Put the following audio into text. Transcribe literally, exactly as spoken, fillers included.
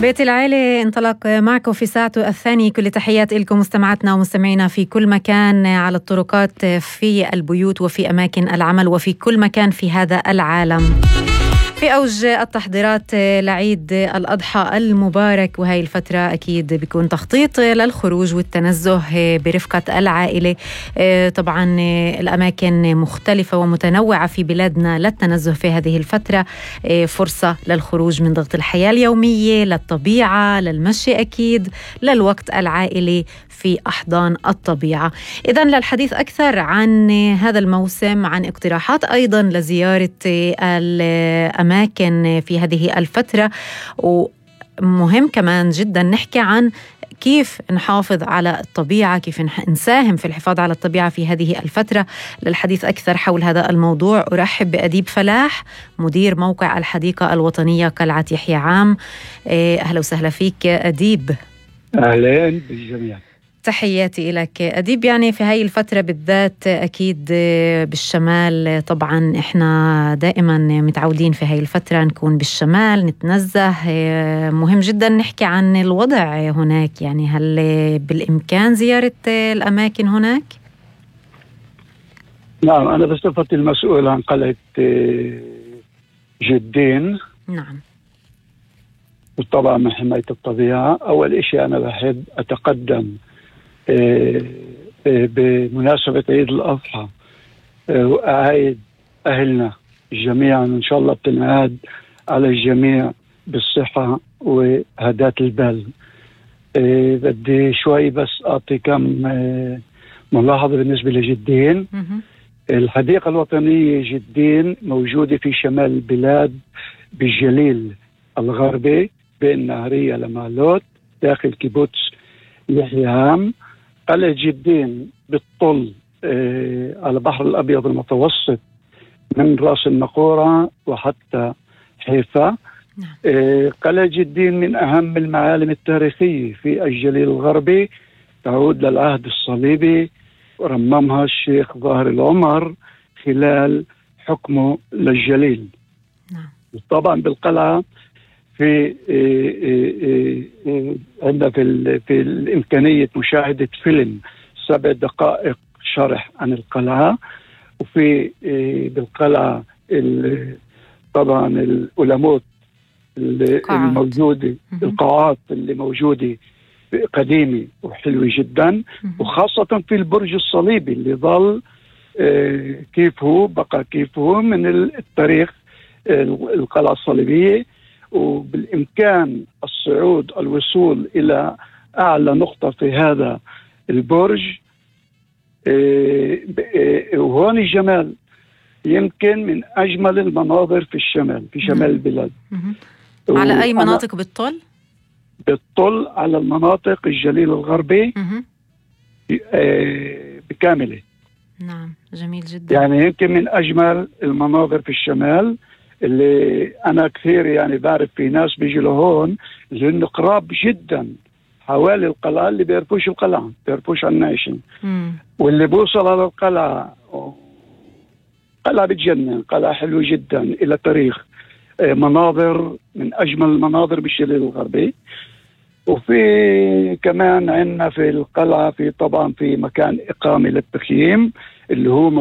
بيت العيلة انطلق معكم في ساعته الثانية. كل تحيات لكم مستمعاتنا ومستمعينا في كل مكان، على الطرقات، في البيوت، وفي أماكن العمل، وفي كل مكان في هذا العالم. في أوج التحضيرات لعيد الأضحى المبارك، وهي الفترة أكيد بيكون تخطيط للخروج والتنزه برفقة العائلة. طبعا الأماكن مختلفة ومتنوعة في بلادنا للتنزه في هذه الفترة، فرصة للخروج من ضغط الحياة اليومية، للطبيعة، للمشي أكيد، للوقت العائلي في أحضان الطبيعة. إذن للحديث أكثر عن هذا الموسم، عن اقتراحات أيضا لزيارة الأماكن في هذه الفترة، ومهم كمان جدا نحكي عن كيف نحافظ على الطبيعة، كيف نساهم في الحفاظ على الطبيعة في هذه الفترة. للحديث أكثر حول هذا الموضوع أرحب بأديب فلاح، مدير موقع الحديقة الوطنية قلعة يحيى عام. أهلا وسهلا فيك أديب. أهلا بالجميع، تحياتي لك أديب. يعني في هاي الفترة بالذات أكيد بالشمال، طبعا إحنا دائما متعودين في هاي الفترة نكون بالشمال نتنزه. مهم جدا نحكي عن الوضع هناك، يعني هل بالإمكان زيارة الأماكن هناك؟ نعم، أنا بصفتي المسؤول عن قلعة جدين، نعم، وطبعا من حماية الطبيعة. أول إشي أنا بحب أتقدم بمناسبة عيد الأضحى وأعيد أهلنا جميعا إن شاء الله بتنعاد على الجميع بالصحة وهداة البال. بدي شوي بس أعطي كم ملاحظة بالنسبة لجدين. الحديقة الوطنية جدين موجودة في شمال البلاد بالجليل الغربي بين نهرية لمالوت داخل كيبوتس يحيى عام. قلعة جدين بتطل آه على البحر الأبيض المتوسط من رأس النقورة وحتى حيفا. آه قلعة جدين من أهم المعالم التاريخية في الجليل الغربي، تعود للعهد الصليبي، ورممها الشيخ ظاهر العمر خلال حكمه للجليل. طبعا بالقلعة في عندنا في, في الإمكانية مشاهدة فيلم سبع دقائق شرح عن القلعة. وفي بالقلعة طبعا الأولموت الموجودة، القاعات اللي موجودة قديمة وحلوة جدا، وخاصة في البرج الصليبي اللي ظل كيف هو بقى كيف هو من التاريخ القلعة الصليبية. وبالإمكان الصعود الوصول إلى أعلى نقطة في هذا البرج. وهون الجمال يمكن من أجمل المناظر في الشمال، في شمال البلاد. على أي مناطق بتطل؟ بتطل على المناطق الجليل الغربي بكامله. نعم، جميل جدا. يعني يمكن من أجمل المناظر في الشمال، اللي أنا كثير يعني بعرف في ناس بيجوا لهون لأنه قراب جدا حوالي القلعة، اللي بيعرفوش القلعة بيعرفوش عن نايشن، واللي بوصل على القلعة قلعة بتجنن، قلعة حلوة جدا إلى تاريخ، مناظر من أجمل المناظر بالجليل الغربي. وفي كمان عندنا في القلعة في طبعا في مكان إقامة للتخييم اللي هو